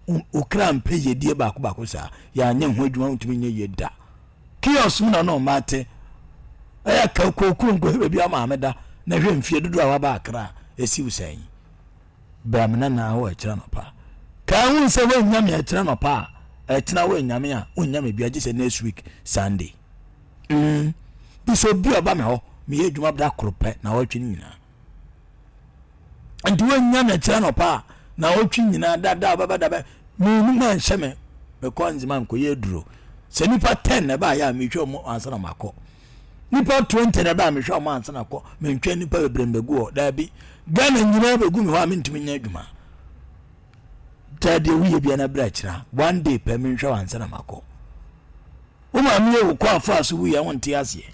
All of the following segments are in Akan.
Wo kra mpɛ yiedie baako baako saa. Yɛanyɛ ho adwuma wontumi nyɛ yie da. Kiosk mu na na ɔma te. Ɛyɛ ka kookoo nkɔhwɛ baabi a maame da na hwɛ mfie dodoɔ a waba Accra a ɛsi wo sɛn. Bra me nana hɔ ɛkyerɛ nɔpa. Kaa hu sɛ woannya me ɛkyerɛ nɔpa a ɛkyena woannya me a wonnya me bia gye sɛ next week Sunday. Mm. Bi sɛ obi a ɔba me hɔ meyɛ adwuma da koro pɛ na wɔtwe no nyinaa. Nti woannya me ɛkyerɛ nɔpa a na wɔtwe nyinaa dada a ɔbɛba dabɛ menu ma nhyɛ me mekɔ nzema nkɔyɛ aduro. Sɛ nipa 10 na ɛbaayɛ a mehwɛ ɔmo ansa na makɔ. Nipa 20 na ɛbaa mehwɛ ɔmo ansa na kɔ mentwɛn nipa bebree mbɛgu hɔ daabi Ghana nyinaa bɛgu me hɔ a mentumi nyɛ adwuma taa deɛ woyɛ bia na berɛ akyira one day pɛ menhwɛ wɔ ansa na makɔ wo maame yɛ wo kɔ afa so wuyɛ wo nte aseɛ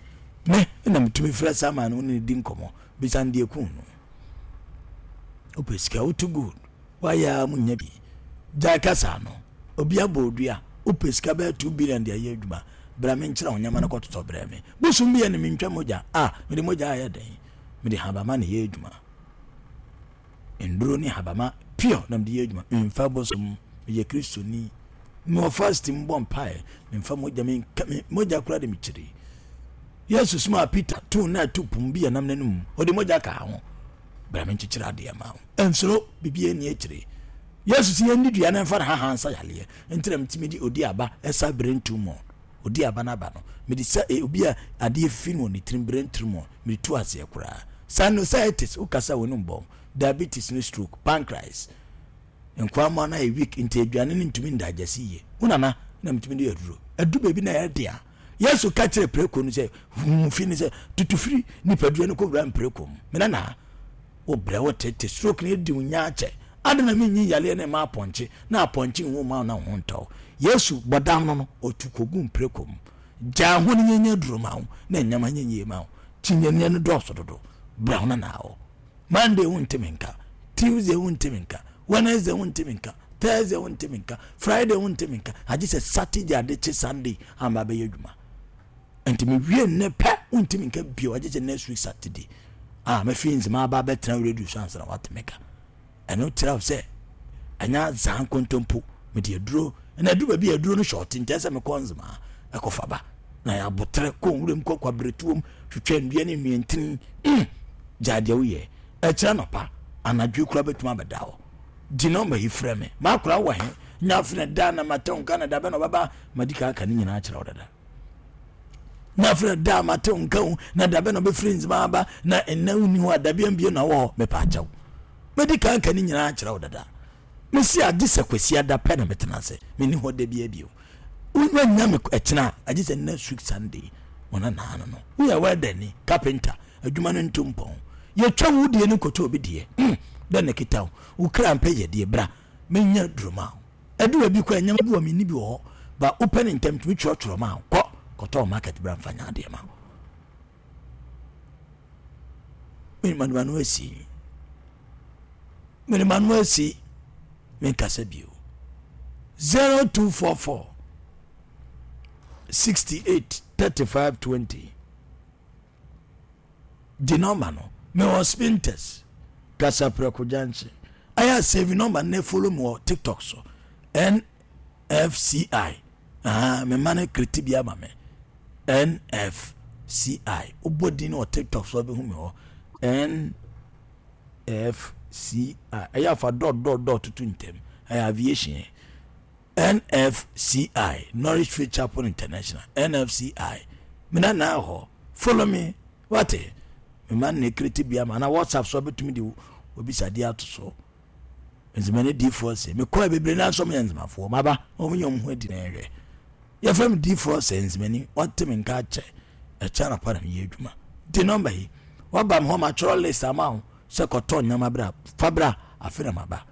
me na metumi frɛ saa maa no ne di nkɔmmɔ bisa no deɛ kun no wopɛ sika woto gold Wayɛ a munya bi. Gyae kasa no. Obi abɔ odua. Wopɛ sika bɛyɛ 2 billion de ayɛ adwuma. Bra menkyerɛ wo nneɛma no kɔtotɔ brɛ me. Bosom bi yɛ ne mentwa mogya. Ah, mede mogya ayɛ dɛn? Mede habama na ɛyɛ adwuma. Nnuro ne habama pure na mede yɛ adwuma. Memfa bosom. Meyɛ Kristoni. Mewɔ fasting bɔ mpae. Memfa mogya menka me mogya koraa de mekyiri. Yesu somaa Peter too na ɛto pum bi yɛ nam n'anum. Ɔde mogya kaa ho. Bra menkyekyere adeɛ ma wo. Nsuro, biribiara nni akyire. Yesu sɛ yɛnni dua no mfa ne hahan nsa yareɛ. Nti na metumi de odi aba ɛsa brain tumor. Odi aba no aba no, mede sa e, obi a adeɛ fi no wɔ ne tirim brain tumor, mede tu aseɛ koraa. Sinusitis, wokasa w'anum bɔn, diabetes ne stroke, pancreas. Nkwammoa no ayɛ weak nti aduane no ntumi ndigest yie. Wo nana na metumi de aduro. Adu baabi na ɛyɛ den a, Yesu ka kyerɛ preko no sɛ, huhu fi no sɛ, tutu firi nipadua no kɔwura mpreko mu. Me nana, wo brɛ wo tete stroke no adi wo nya akyɛ. Adɛn na menyi yareɛ no mma apɔnkye na apɔnkye nwu mma wo na wo ho ntɔ wo. Yesu bɔdam no no, ɔtu kɔgu mpreko mu. Gyaa ho no nyɛ aduro ma wo na nneɛma nyɛ yie ma wo. Kyinyɛneɛ no dɔɔso dodo. Bra wo nana hɔ. Monday wo ntumi nka, Tuesday wo ntumi nka, Wednesday wo ntumi nka, Thursday wo ntumi nka, Friday wo ntumi nka, agye sɛ Saturday ade kye Sunday ama bɛyɛ adwuma. Nti mewie nnɛ pɛ wo ntumi nka bio agye sɛ next week Saturday. Ah, mɛfi nzema aba abɛtena radio so ansa na watumi ka. Ɛno kyerɛ sɛ ɛnyɛ azaa nkontompo mede aduro na aduru baabi a aduro no hyɛ ɔte nkyɛn sɛ mekɔ nzema ɛkɔfa ba na yɛ aboterɛ kɔ nwuram kɔ kwabrɛtuom twitwa nnua ne nnuantini mm gyae deɛ woyɛ ɛkyerɛ nɔpa anadwo kura bɛtumi abɛda hɔ di nɔmba yi frɛ me makora wɔ he nya afei da na matɛ wo nka na da bɛ na ɔbɛba madi ka aka ne nyinaa kyerɛ wo dada na afei da mate wo nka wo na da bɛ na ɔbɛfiri nzema aba na ɛnna wonni hɔ a dabi ambie na wɔ hɔ mepa akyɛw madi ka aka ne nyinaa kyerɛ wo dada mesi agye sɛ kwasi ada pɛ na metena ase menni hɔ da bi abio wonya me ɛkyena agye sɛ next week Sunday wɔn anaa no no woyɛ wɛdani carpenter adwuma no ntu mpɔn yɛtwa wo deɛ no kɔtɔ obi deɛ mm, dɛn na kita wo wo kra mpɛ yɛ deɛ bra menya duruma ɛdu baabi kɔ nneɛma bi wɔ menni bi wɔ hɔ ba wopɛ ne ntɛm tumi twerɛtwerɛ ma kɔ kɔtɔ market bra mfa nya adeɛ ma mede m'ano asi mede m'ano asi menkasa bio 0244 68 35 20 Gye nɔmba no. Mewɔ Spintex, Kasaprɛko Junction. Ayɛ a save nɔmba no na follow me wɔ TikTok so. NFCI. Aha, me mma no kreti bi ama me. NFCI. Wobɔ din wɔ TikTok so abɛhu me hɔ. NFCI. Ɛyɛ afa dot dot dot tutu ntɛm. Ɛyɛ aviation. NFCI, Norwich Faith Chapel International, NFCI. Me na na hɔ. Follow me. Wate? Me ma ne kreti bia ma na WhatsApp so betumi de obisadeɛ ato so. Nzema ne diifoɔ sɛ mekɔɛ bebree na nso meyɛ nzemafoɔ. Maba, wɔn nyɛ wɔn ho adi na ɛhwɛ. Yɛfrɛ me diifoɔ sɛ nzemani, wɔte me nka akyɛ. Ɛkyɛ anɔpa na meyɛ adwuma. Di nɔmba yi. Waba me hɔ matwerɛ list ama wo sɛ kɔtɔ nneɛma bra. Fa bra, afe na maba.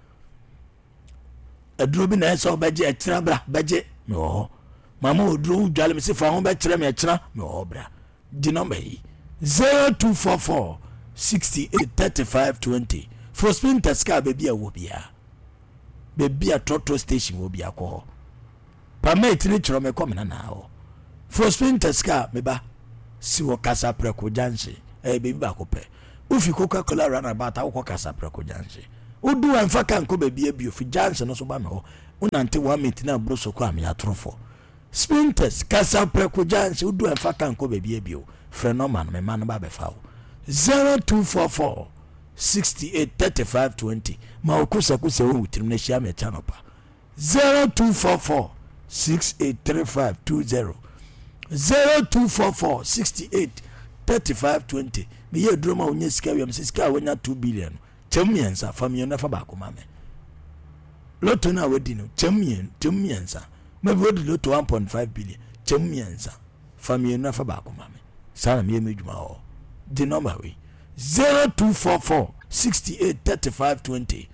Aduro bi na ɛsɛ ɔbɛgye ɛkyena bra bɛgye mewɔ hɔ mama oduro wo dwale me se fa ho bɛkyerɛ me ɛkyena mewɔ hɔ bra di nɔmba yi 0244 68 35 20 for spintex kaa baabi a wɔ biara baabi a trɔtrɔ station wɔ biara kɔ hɔ Pamate ne kyerɛ me kɔ me nana hɔ. Foro Spintex kaa me ba si wɔ Kasaprɛko junction. Ɛyɛ baabi baako pɛ. Wofi Coca Cola runabout a wokɔ Kasaprɛko junction. Wodu hɔ mfa kaa nkɔ baabi abio fi junction no so ba me hɔ. Wonante one minute na aburo so koraa meyɛ atorofoɔ. Spintex, kasa prɛko gya nhyɛ wodu a mfa ka nkɔ baabi bio. Frɛ nɔma no, me mma no ba bɛfa wo. 0244 68 35 20 Ma wo kosakosa wɔ wo tirim na hyia me ɛkyɛ anɔpa. 0244 6835 20 0244 68 35 20 Meyɛ aduro ma wonya sika wiem sɛ sika a wonya 2 billion no kyɛm mmiɛnsa fa mmienu na fa baako ma me. Loto no a wadi no kyɛm mmienu kyɛm mmiɛnsa maybe wadi loto 1.5 billion kyɛm mmiɛnsa fa mmienu na fa baako ma me. Saa na meyɛ m'adwuma wɔ hɔ. Gye nɔmba wei 0244 68 35 20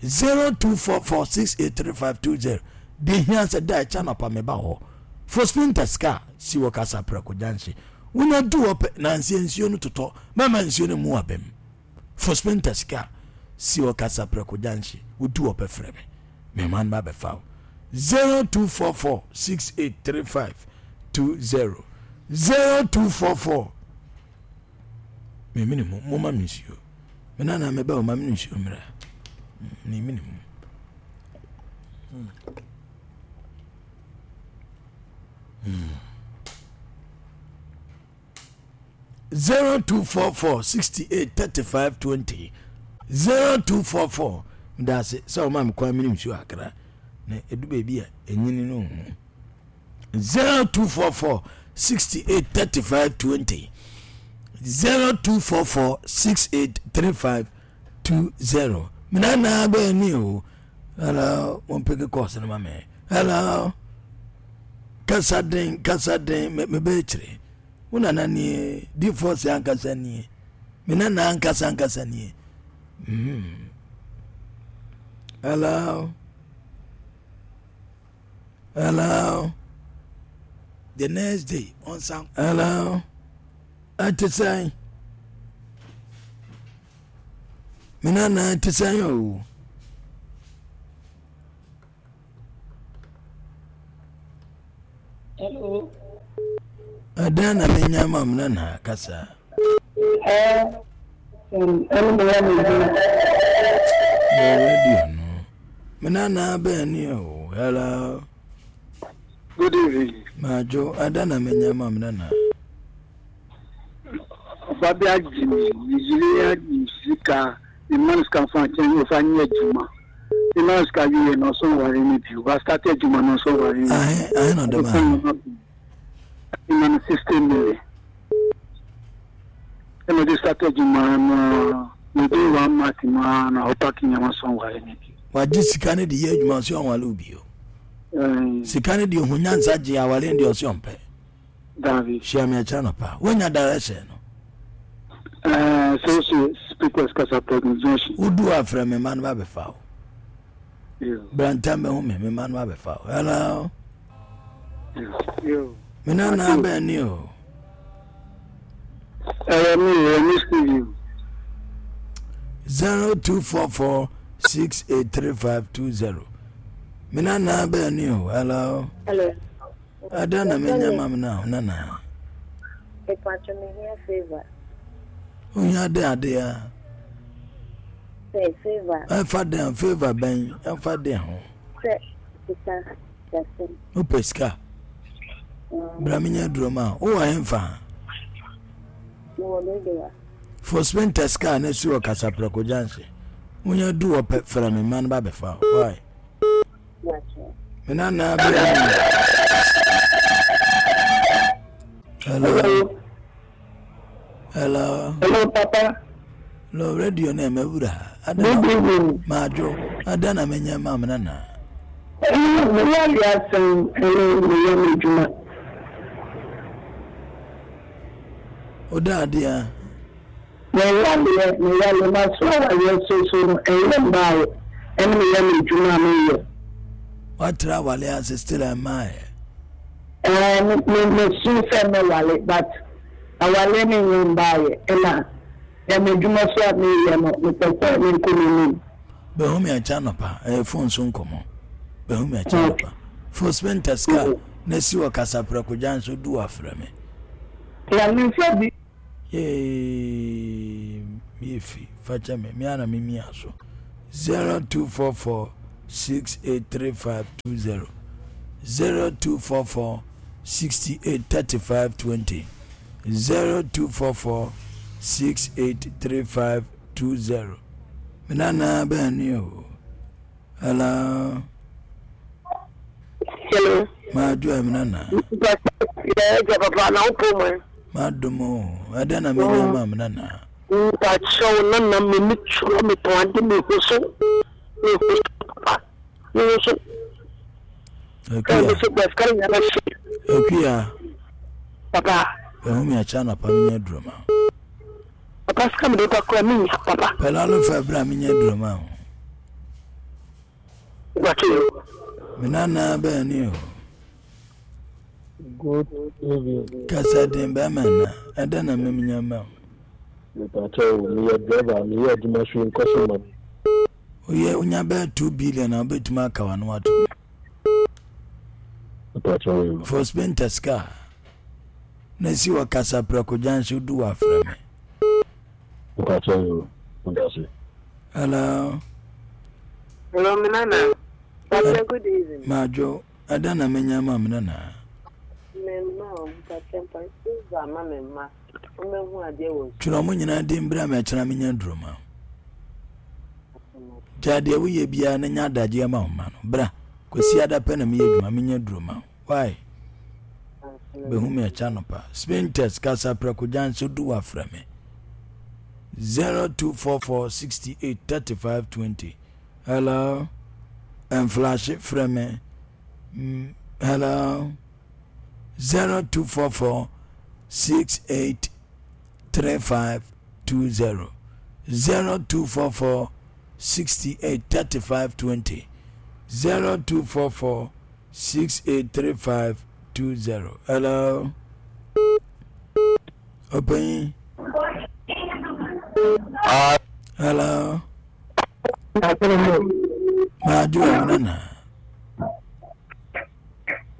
0244 683520 Deɛ hia sɛ da ɛkyɛ anɔpa meba hɔ fo spintex car si wɔ Kasaprɛko junction wonya du hɔ pɛ nansi nsuo no totɔ mɛma nsuo no mu abam fo spintex car si wɔ Kasaprɛko junction wodu hɔ pɛ frɛ me mema no ba bɛfa wo 0244 683520 0244 memene mu moma me nsuo me nana meba o ma me nsuo mmra memene mu mm. 0244 68 35 20 0244 medase sɛ woma me kwan mene nsuo akra na ɛdu baabi a ɛnyini no ho 0244 68 35 20 0244 68 35 20 menana bɛɛ ni o hello mompeke kɔɔse no ma me hello kasa den kasa den mebɛyɛ kyerɛ wo nana nie difoɔ sɛ ankasa nie me nana ankasa ankasa nie mm. hello Hello. The next day, ɔnsan. Hello. Ɛte sɛn? Me nana ɛte sɛn o? Hello. Ɛdɛn na menya ma me nana kasa? Ɛɛ, ɛne meyɛ me adwuma. Bɔ radio no. Me nana bɛn ni o. Hello. Good evening. Majo, ɛdɛn na menya ma me nana? Ɔba bi agye me, me yere agye sika, me ma no sika mfa nkyɛn ɔfa nyɛ adwuma. Me ma no sika wie na ɔsɔ nware me bio. Wa start adwuma na ɔsɔ nware me. Ahe, ahe na ɔde ma no? Me ma no 60 million. Ɛna ɔde start adwuma no within one month mu ara na ɔpaki nneɛma sɔ nware me bio. Wagye sika no de yɛ adwuma ɔsɛ ɔnwale wo bio. Sika no deɛ ɔhu nyansa gye awale no deɛ ɔsɛ ɔmpɛ. Dabi. Hyia me akyerɛ anɔpa. Woanya direction no? Ɛɛ sɛ wohyɛ speakers kasa pɛ junction. Wodu hɔ a frɛ me mma no ba bɛfa wo. Bra ntam bɛhu me, me mma no ba bɛfa wo. Hello. Me nana bɛn ni o. Ɛyɛ me ɛyɛ me studio. 0244 683520. Me nana bɛn ni o. Hello. Hello. Ada na menya ma me na nana. Mepacho me hia favor. Ohia de ade a. Sɛ favor. Ɛfa den favor bɛn ɛfa den ho. Sɛ sika dasɛm. Wopɛ sika. Mm. Bra menya duro ma wo. Wowɔ hemfa? Mewɔ Dodowa. For spinter sika na si wɔ Kasaprɛko junction. Wonya du wɔ pɛ frɛ me mma no ba bɛfa wo. Why? Me nana bɛ Hello. Hello. Hello, Papa. Hello, radio na ɛmɛ wura. Good evening. Maajo, ada na menyɛ ma me nana. Meyɛ awiasɛm ɛne meyɛ m'adwuma. Oda adeɛ. Meyɛ meyɛ maso awareɛ so so no ɛnyɛ mmaeɛ ɛne meyɛ m'adwuma a meyɛ. Watra awale ase still ɛmmaeɛ. Ɛɛ me me mesu sɛ mɛwale but awareɛ no nyɛ mmaeɛ ɛna yɛ m'adwuma so a meyɛ no mepɛ sɛ menkɔ m'anim. Bɛhu me akyɛ anɔpa ɛyɛ phone so nkɔmmɔ bɛhu me akyɛ anɔpa fo spenta sika na si wɔ kasaprɛko gya nso du afrɛ me. Na me nsa bi. Yay, me fi, fakyɛ me, me ana me mia so. 0244 6835 20 0244 68 35 20 0244 68 35 20 Me nana bɛn ni o. Hello. Hello. Ma do am nana. Yeah, papa na upo mo. Ma do mo. Ada na me nya ma me nana. Mpa kyɛw na na me ni twerɛ me tɔn ade me ho so. Me ho so papa. Me ho so. Akuya. Akuya. Papa. Ehu mi akyɛ anɔpa me nya duro ma. Papa sika mi de ba kura mi nya papa. Pɛlɛ alo fɛ bra mi nya duro ma o. Gbàtɛ o. Mi nana bɛn ni o. Good evening. Kasa den bɛrima na ɛdɛ na mi nya ma o. Mepatɛ o, meyɛ driver, meyɛ adwuma so nkɔso ma me. Woyɛ wonya bɛyɛ 2 billion a wobɛtumi aka w'ano atom. Mepatɛ o. For spintex car na si wɔ Kasaprɛko junction wodu wɔ afrɛ me. Mepatɛ o, medase. Hello. Hello, me nana. Papa, good evening. Madwo, ɛdɛn na menya ma me nana? Me mma o, mpakyɛ mpa, ma me mma. Twerɛ wɔn nyinaa din berɛ a mɛkyena menya duro ma gyaa deɛ woyɛ biara na nya adagyeɛ ma wo ma no bra kwasi ada pɛ na meyɛ adwuma menya duro ma wo why bɛhu me ɛkyɛ anɔpa spintex kasa prɛko gya nso du wafrɛ me 0244 68 35 20 hello ɛmflashe frɛ me mm, hello 0244 68 35 20 0244 68 35 20 0244 68 35 20 hello ɔpanyin hello maadwo ɛmena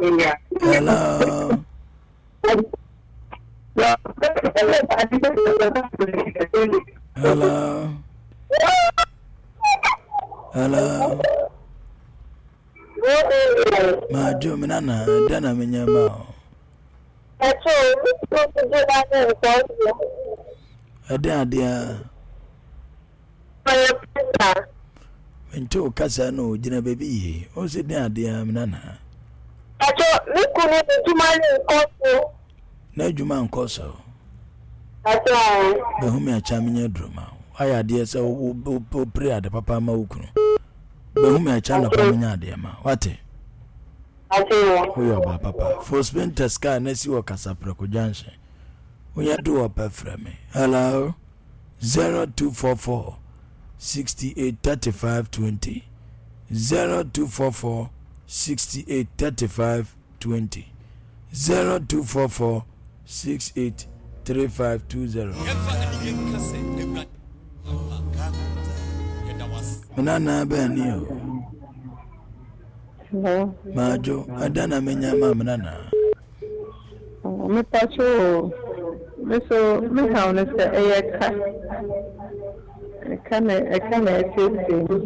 Hello. Hello. Hello. Majo me nana da na me nyama o. Ɛde adeɛ a. Ɔyɛ pasta. Mente wo kasa no gyina baabi yie. Wo se den adeɛ a me nana. Pacho me kunu n'adwuma no nkɔ so. N'adwuma nkɔ so. Pacho ae. Bɛhu me akyɛ menyɛ aduro ma wo. Wayɛ adeɛ sɛ wopere ade papa ma wo kunu. Bɛhu me akyɛ anɔpa menyɛ adeɛ ma. Wate? Pacho. Woyɛ ɔbaa papa. Fo Spintex car na si wɔ Kasaprɛko junction. Wonya du hɔ pɛ frɛ me. Hello. 0244 68 35 20 0244 68 35 20 0244 68 35 20 Menana bɛn ni o Majo ɛdɛn na menya ma menana Mepakyɛ o, me so me haw ne sɛ ɛyɛ ka. Ɛka na ɛka na ɛteetee me.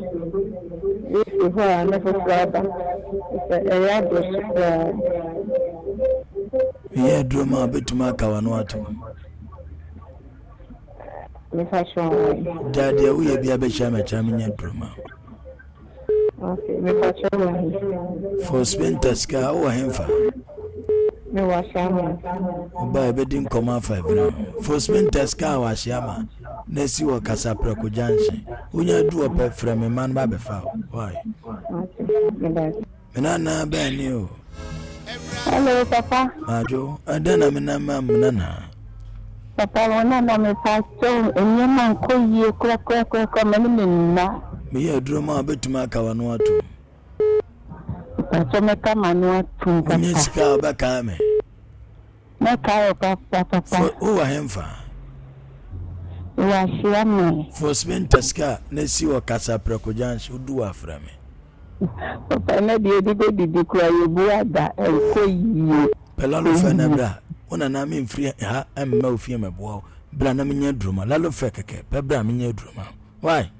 Efi hɔ a na foforɔ aba. Sɛ ɛyɛ aboro so koraa. Meyɛ aduro ma wobɛtumi aka w'ano atom. Mepakyɛ o. Gya deɛ woyɛ bi abɛhyia mɛkyerɛ menyɛ aduro ma. Okay, mepakyɛ wɔ he? For spintex ka wowɔ hemfa? Mewɔ Ahyiama. Woba yɛbɛdi nkɔmmɔ afa ɛbena ho. For spintex ka wɔ Ahyiama na asi wɔ Kasaprɛko junction. Wonya du hɔ pɛ frɛ me mma no ba bɛfa wo. Why? Okay, meda Me nana bɛn ni o. Hello, papa. Madwo, ɛdɛn na me nan ma me nana? Papa, wo nana mepakyɛw nneɛma nkɔ yie korakorakorakora ma ne me nna. Meyɛ aduro ma wobɛtumi aka w'ano atom. Mepakyɛw mɛka m'ano atom papa. Wonyɛ sika a wobɛkae me. Mɛkae wo papa papa. Wowɔ hemfa? Mewɔ Ahyiaman. Fo Spintex car na si wɔ Kasaprɛko junction wodu hɔ a frɛ me. Papa na deɛ yɛde bɛdidi koraa yɛbu ada ɛnkɔ yie. Pɛ lalo fɛ na bra wo nana me mfiri ha mma wo fie mɛboa wo bra na menyɛ aduro ma lalo fɛ kɛkɛ pɛ bra menyɛ aduro ma why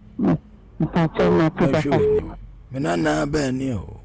Mpakyɛw mate mɛhwɛ papa. w'anim. Me nana bɛn ni o.